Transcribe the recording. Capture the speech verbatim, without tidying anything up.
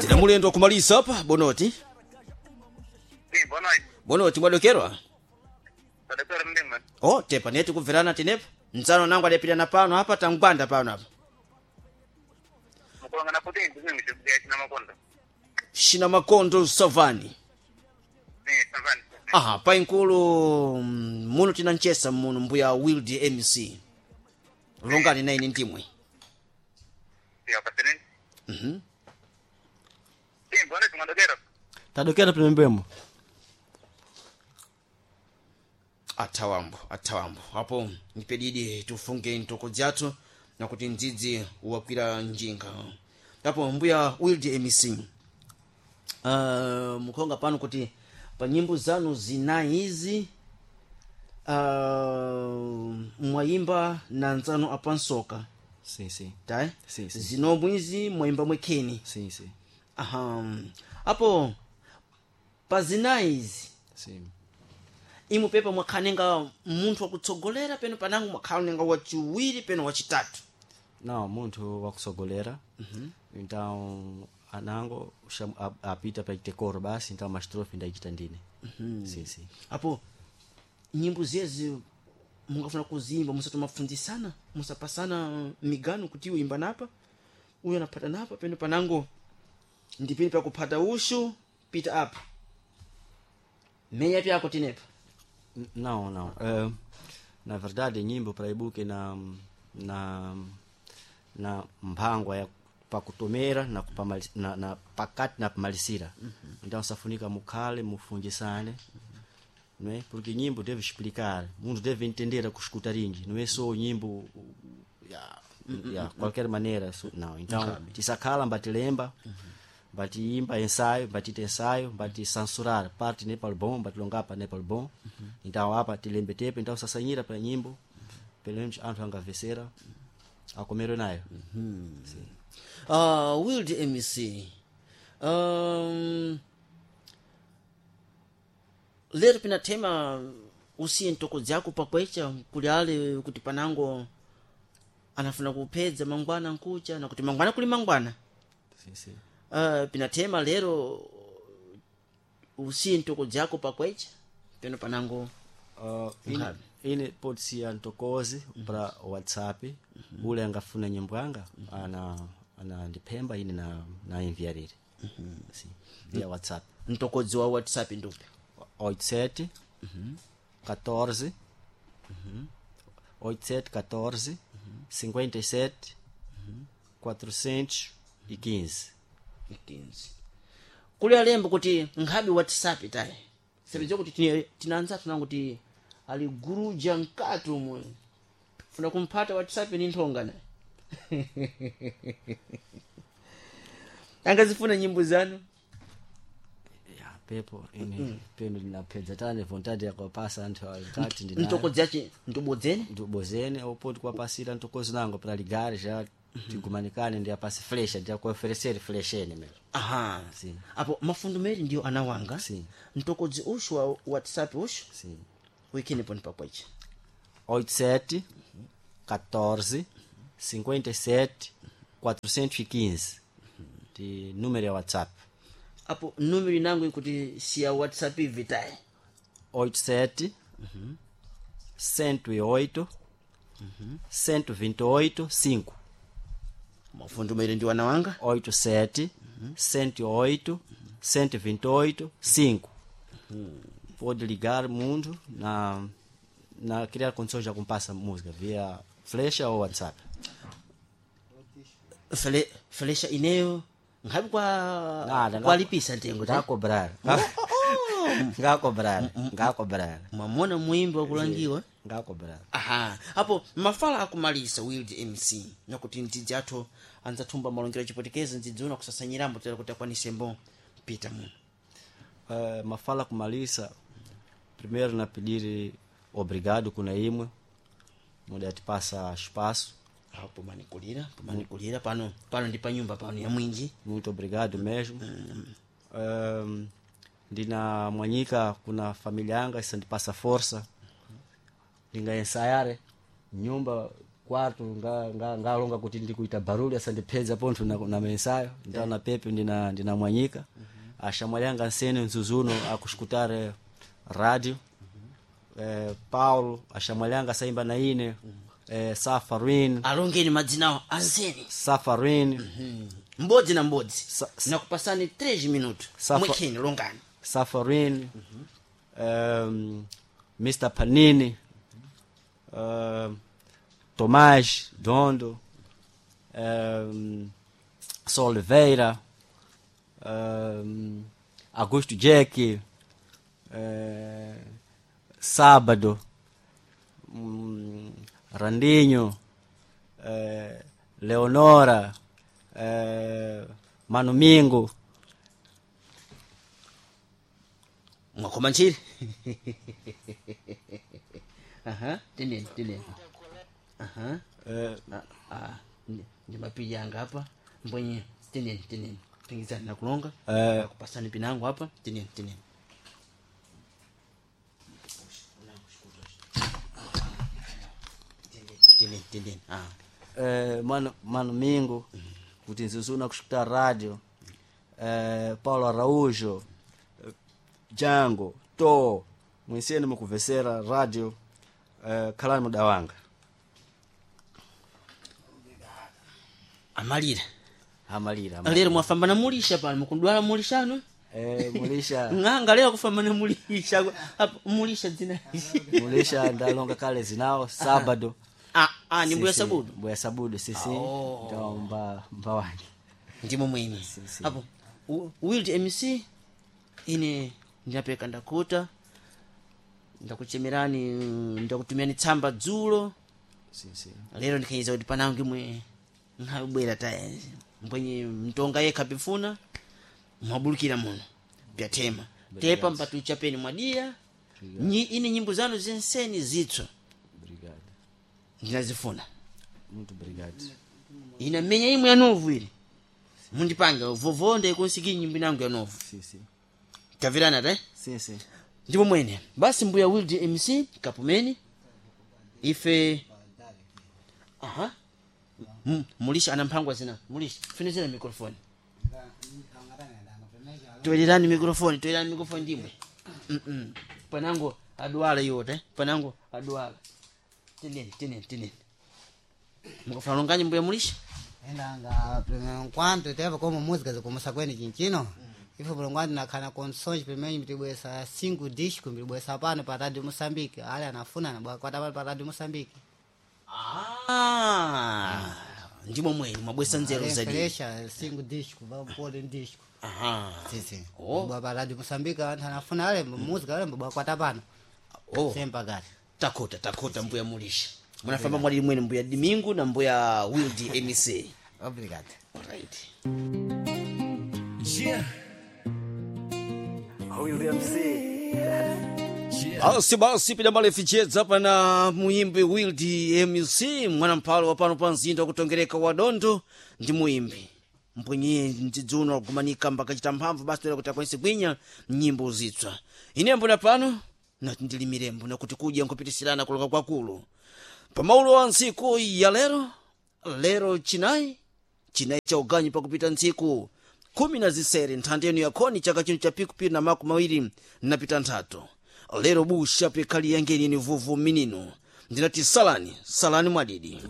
Tina mulendo wakumalisa apa bonoti. Sim, boa noite. Bonoti mwadokerwa. Tadekera mndimwe. Oh, tepa neti kubverana tinepa. Ntsano nangu adapitana pano apa tangwanda pano apa. Mukulangana kuti ndizimwe chikuya china makondo. Shina makondo savani. Sim, savani. Aha, painkulu mm, muno tina nchesa muno mbuya Wild M C. Longani na ine ndimwe. Sim, apatireni. Mhm. Sim, boa noite, mwadokera. Tadokera pemembemo. Athawambo, athawambo. Apo nipedidi tufunge ntoko dzathu nakuti ndzidzi wakwira njinga. Apo mbuya Wild M C. Uh, mukhonga pano kuti pa nyimbo zanu zinayi izi uh, mwayimba na nzanu apansoka Sim, sim. tayi Sim, sim. zinomwe izi mwayimba mwekheni Sim, sim. aha apo pa zinayi izi Sim. imwe pepa mwakhalenga munthu wakutsogolera peno panango mwakhalenga wachiwiri peno wachitatu. Não, munthu wakusogolera. Então, anango cham, a, apita para ter coro basi, então uma estrofe ndaichita ndine. Sim, sim. Apo nyimbo zezi mungafuna kuzimba musatomafundisana musapasana migano kuti uimba napa uyu anaphata napa peno panango ndipini pakuphata ushu pita apa meya pyako tinepa. N- Não, não. Eh, na verdade, nyimbo para ibuke na na na mphangwa ya pakutomera na kupamali, na, na pakati na pamalisira. Então safunika mukhale mufungisane. Não é? Porque nyimbo deve explicar, mundo deve entender a escutar ringi, não é só nyimbo ya, ya qualquer maneira, so, não. Então, tisakhala mbatilemba, mbatiimba ensaio, mbatita ensaio, mbaticensurar parte nem para o bom, mbatilongapa nem para o bom. Então apa tilembe tepe, então sasanyira para nyimbo, pelo menos anthu angavesera akomero nayo. Sim. Uh, Wild M C um, lero pinathema usiye ntoko dzako pakwecha kuli ale kuti panango anafuna kuphedza mangwana nkucha nakuti mangwana kuli mangwana. Sim, sim. Uh, pinathema lero usiye ntoko dzako pakwecha peno panango. Uh, ine, ine pode ser ntokozi para WhatsApp ule angafuna nyimbo yanga ana ana ndiphemba ine na na enviarire. Sim, via WhatsApp. Ntokodzi wa WhatsApp ndupi? oito sete catorze oito sete catorze cinquenta e sete quatrocentos e quinze. quinze. Kuli alembo kuti nkhabe WhatsApp tayi sepedza kuti tine- tinanza tunango kuti ali guruja mkati umwe funa kumphata WhatsApp ni nthonga naye angazifuna nyimbo zanu. Ya pepo ine peno ndinaphedza tane vontade yakupasa anthu nkati ndinayo. Ntokodzi yace ntobodzene Ndibozene ou kuwapasira ntokozi nango para ligar já tigumanikane ndi apase flecha ndi akuoferecer flechene mesmo. Aha. Sim. Apo mafundo meri ndiyo anawanga. Sim. Ntokodzi ushu wa WhatsApp ushu Sim. wikini poni pakwecha oito sete catorze cinquenta e sete quatrocentos e quinze de número é WhatsApp. Apo numero inango ikuti siya WhatsApp ivitayi oito sete cento e oito cento e vinte e oito cinco. Mafundo meri ndiwo anawanga. oito sete cento e oito cento e vinte e oito cinco. Pode ligar mundo na na criar condições já compassa música via flecha ou WhatsApp. Fle, flecha ineyo nkhabe kwa Nada, kwalipisa ntengo ta ngakobrar. Ngakobrar, ngakobrar. Mwamona muimbi wakulangiwa. Ngakobrar. Aha, apo mafala akumalisa Wild M C nakuti mdzidzi athu anzathumba malongero achipotekezi ndzidziona kusasanyirambo tera kuti akwanisembo pita muno. Uh, mafala kumalisa primeiro na pedir obrigado kuna imwe muda atipasa espaço. Apo manikulira pomanikulira pano pano ndi panyumba pano ya mwinji. Muito obrigado mesmo. Um, ndina mwanyika kuna família yanga isandipasa força ndinga ensaiare nyumba quarto nga nga ngalonga kuti ndikuita baruli asandipedza pontho na, na mensayo então na pepe ndina ndina mwanyika ashamwali anga nsene nzuzuno akushukutare radio eh, Paulo ashamwali anga saimba na ine eh, Safarin Alongeni madzinawo anseni. Safarin Mbodzi na mbodzi. Sa- Nakupasani three minutos. Safa- Mwekheni longani. Safarin um, Mister Panini um, Tomás Dondo um, Soliveira um, Augusto Jack eh, Sábado um, Randinho eh, Leonora eh, Mano Mingo Mwakoma nchiri. Aha, tineni tineni. Aha. eh, Ah, ah, ndi- ndi mapija anga apa mbwenye tineni tineni pingizani nakulonga Eh. nakupasani pinango apa tineni tineni tineni tineni ah eh, mano, mano Mingo kuti nzuzuna kushukuta radio eh, Paulo Araújo eh, Django to mwinseni mukuvesera radio eh, khalani muda wanga amalira amalira amalira. lero mwafambana mulisha pano mukudwala mulishano eh, mulisha ng'anga lero kufambana mulisha apa mulisha dzina mulisha ndalonga kale zinawo sábado ah ah ni mbuya Sisi, sabudu mbuya sabudu sisi Oh. ndo mba mba wange ndimo mwene si. apo u- wild mc ine ndinapeka ndakuta ndakuchemerani ndakutumiani tsamba dzulo sisi lero ndikhayiza kuti panango imwe nkhabwera taya mbwenye mtonga yekha pifuna mwabulukira muno pyathema tepa mpatuchapeni mwadiya Nyi, ine nyimbo zanu zenseni zitswa obrigado ndinazifuna muito obrigado ina menya imwe ya novu ili mundipange vovo ndaikonsikii nyimbo inango ya novu sisi tavirana te sisi ndipo mwene basi mbuya wild mc kapumeni ife aha M- mulisha ana mphangwa zina mulisha funizira mikrofoni toyererani mikrofoni toyererani mikrofoni ndimwe Mm-mm. panango adwala iwote panango adwala tineni tineni tineni mukafuna longanyi mbuya mulisha endanga enquanto teve como música zikumusa kweni chinchino ifo mulongwandi nakhana condições primeiro mtibwesa cinco discos mtibwesa pano pa radio Moçambique ale anafuna nabwakwata pano pa radio Moçambique Ah, ndimo mwene mwabwesa nzeru zadi fresha cinco discos vapole disco aha sim sim Oh. bwa pa radio Moçambique anthu anafuna ale música ale mbwakwata pano oh. sem pagar takota takota mbuya mulisha munafamba mwali mwene mbuya dimingu na mbuya wild mc obrigado right basi basi pidambale fichedza pana muimbi wild mc mwana mphalo wa pano pa mzinda wakutongereka wa dondo ndi muimbi mpwenye mdzidzuno wakugumanika mbakachita mphamvu basi toera kuti akwanise kwinya nyimbo zitswa ine mbona pano nati ndili mirembo nakuti kudya nkupitisirana kuloka kwakulu pamaulo wa ntsiku ya lero lero chinayi chinayi cha uganyu pakupita ntsiku khumi na zisere nthanda yenu yakhoni chaka chino cha pikupiri na makumi mawiri napita nthatu lero busha pekhali yangeni ni vuvu minino ndinati salani salani mwadidi.